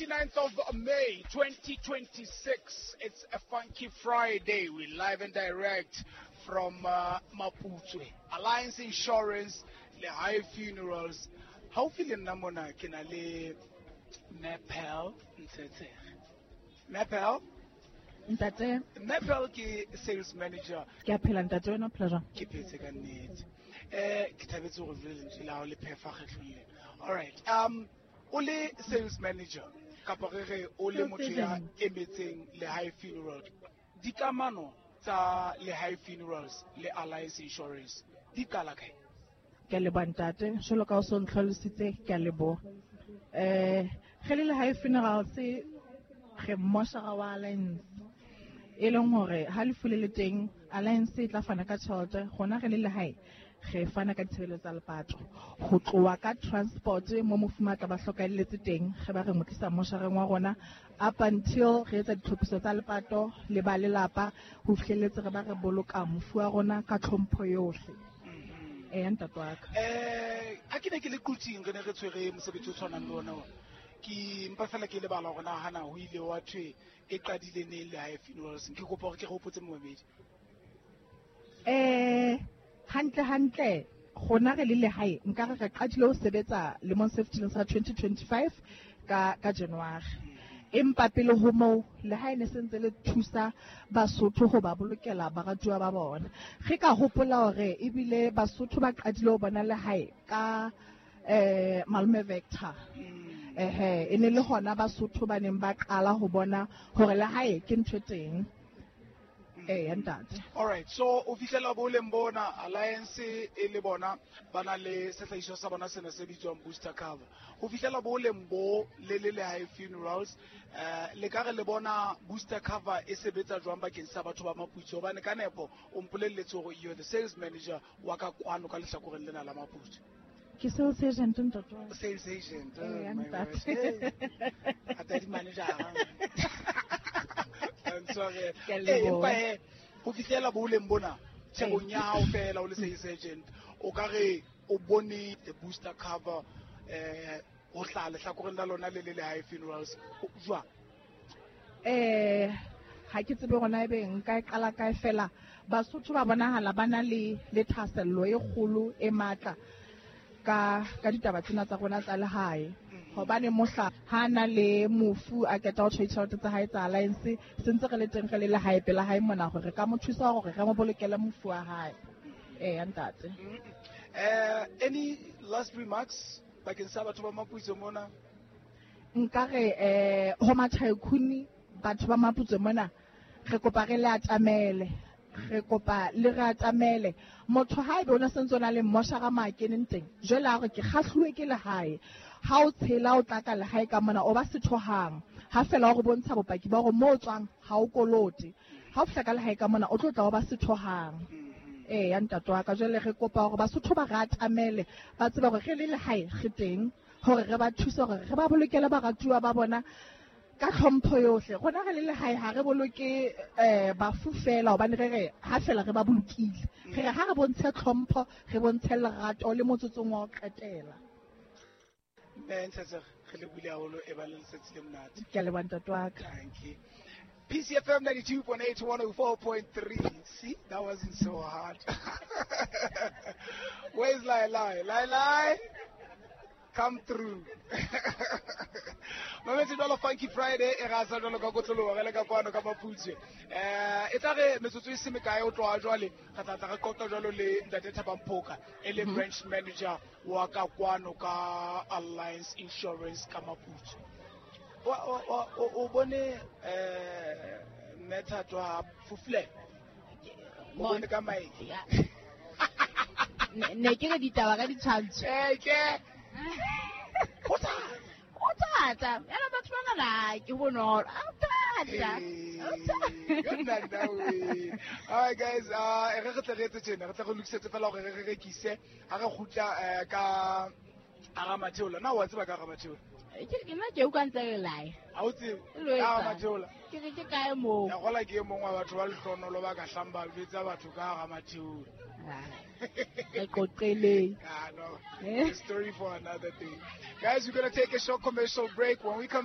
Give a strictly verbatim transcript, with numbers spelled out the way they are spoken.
twenty-ninth of May, twenty twenty-six. It's a funky Friday. We're live and direct from uh, Maputswe. Alliance Insurance, Lehae Funerals. Haufi le nna mona ke na le Mepel Ntshetsege. Mepel? Ntate. Mepel ke sales manager. Ke a phela ntate, wena o phela jwang? Ke phetse ka nnete. Eh, ke thabetse hore jwale lentswe la hao le phefa kgetlong lena. All right. Um, o le sales manager kapa re re o le Sales motho ya agent. emetseng Lehae Funeral. Dikamano tsa Lehae Funerals le Alliance Insurance di qala kae? Ke a leboha ntate, jwalo ka o so ntlhalositse, ke a leboha. Eh, re le Lehae Funerals re mmoshara wa Alliance. E leng hore ha lefu le le teng, Alliance e tla fana ka tjhelete, rona re le lehae re fana ka ditshebeletso tsa lepato. Ho tloha ka transport mo mofu a tla ba hlokahelletse teng, re ba re mo tlisa moshareng wa rona up until re etsa ditlhophiso tsa lepato le ba lelapa ho fihlelletse re ba re boloka mofu wa rona ka tlhompho yohle. Eya ntate wa ka. Eh, ha ke ne ke le Quthing re ne re tshwere mosebetsi o tshwanang le ona ona. Ke mpa fela ke lebala hore na hana ho ile wa thwe e qadile neng Lehae Funerals. Ke kopa hore ke re hopotse momamedi. Eh, hantle hantle rona re le lehae nka re re qadile ho sebetsa lemong se fetileng sa twenty twenty-five ka, ka January. Empa pele ho moo lehae ne se ntse le thusa Basotho ho ba bolokela baratuwa ba bona. Re ka hopola hore ebile Basotho ba qadile ho bona lehae ka, eh, Malome Vector. Ehe, e ne le hona Basotho ba neng ba qala ho bona hore lehae ke ntho e teng. Eh, ntate. All right, so o fihlela boleng bona Alliance e le bona ba na le sehlahiswa sa bona sena se bitswang booster cover. Ho fihlela boleng bo le le Lehae Funerals, eh, le ka re le bona booster cover e sebetsa jwang bakeng sa batho ba Maputswe? Hobane ka nepo o mpolelletse hore you're the sales manager wa ka kwano ka lehlakoreng lena la Maputswe. Ke sales agent ntate wa ka. Sales agent, Eh, oh, my ntate. word. Hey. Ata di manager. I'm sorry. Ke a Eh, leboha. empa he, ho fihlela boleng bona, tjhebong ya hao fela o le sales agent, o ka re o bone the booster cover, eh, ho hlaha lehlakoreng la lona le le Lehae Funerals, jwang? Eh, ha ke tsebe hore na ebe nka e qala kae fela. Basotho ba bonahala ba na le, le thahasello e kgolo e matla ka, ka ditaba tsena tsa rona tsa lehae. Hobane mohla ha na le mofu a qeta ho tjha ditjhelete tsa hae tsa Alliance, se ntse re le teng re le lehae pela hae mona hore re ka mo thusa hore re mo bolokele mofu wa hae. Eya ntate. Eh, any last remarks bakeng sa batho ba Maputswe mona? Nka re, eh, ho Matjhaikhuni, batho ba Maputswe mona, re kopa re le atamele. Re kopa le re atamele. Motho ha ebe o ne sentse o na le mmoshara mo a keneng teng, jwale a re ke kgahluwe ke lehae. Ha o tshela o tla ka lehae ka mona, o ba setho hang. Ha fela o re bontsha bopaki ba hore moo o tswang ha o kolote. Ha o fihla ka lehae ka mona, o tlo tla o ba setho hang. Eya ntate wa ka, jwale re kopa hore Basotho ba re atamele, ba tsebe hore re le lehae re teng, hore re ba thuse hore re ba bolokele baratuwa ba bona ka tlhompho yohle. Rona re le lehae ha re boloke, eh, bafu fela, hobane re re ha fela re ba bolokile. Re re ha re bontshe tlhompho, re bontshe lerato le motsotsong wa ho qetela. Mme Ntshetsege, re lebohile haholo, e ba le letsatsi le monate. Ke a leboha ntate wa ka. Thank you. P C F M ninety-two point eight, one oh four point three. See, that wasn't so hard. Where's Lai Lai? Lai Lai, come through. Mametse jwalo Funky Friday e rasa jwalo ka kotloloho re le ka kwano ka Maputswe. Eh, e tla re metsotso e se mekae o tloha jwale, re tla tla re qoqa jwalo le Ntate Thabang Phoka, e le Mhm. branch manager wa ka kwano ka Alliance Insurance ka Maputswe. Wa, wa, wa, o, o bone, eh, mme Thato ha fufule? O bone ka maele? Ya. Ne, ne ke re ditaba ka ditshwantsho. Eh, ke. Ho thata. Ho thata. Yana batho ba ngana ke bonolo. Ho thata. Ho thata. Good night, now we. All right, guys, uh, re re tle re etse tjena, re tle re lokisetse fela hore re re rekise, ha re kgutla, eh, ka hara Matheola. Na wa tseba ka hara Matheola? Ke re nna ke utlwa ntse re lae. Ha o tsebe? Lo Ka hara etsang? Matheola. Ke re ke kae moo? Ya kgola ke e mong wa batho ba lehlohonolo ba ka hlang ba jwetsa batho ka hara Matheola. Re qoqeleng. Ah, no. Eh? Story for another day. Guys, we're gonna take a short commercial break. When we come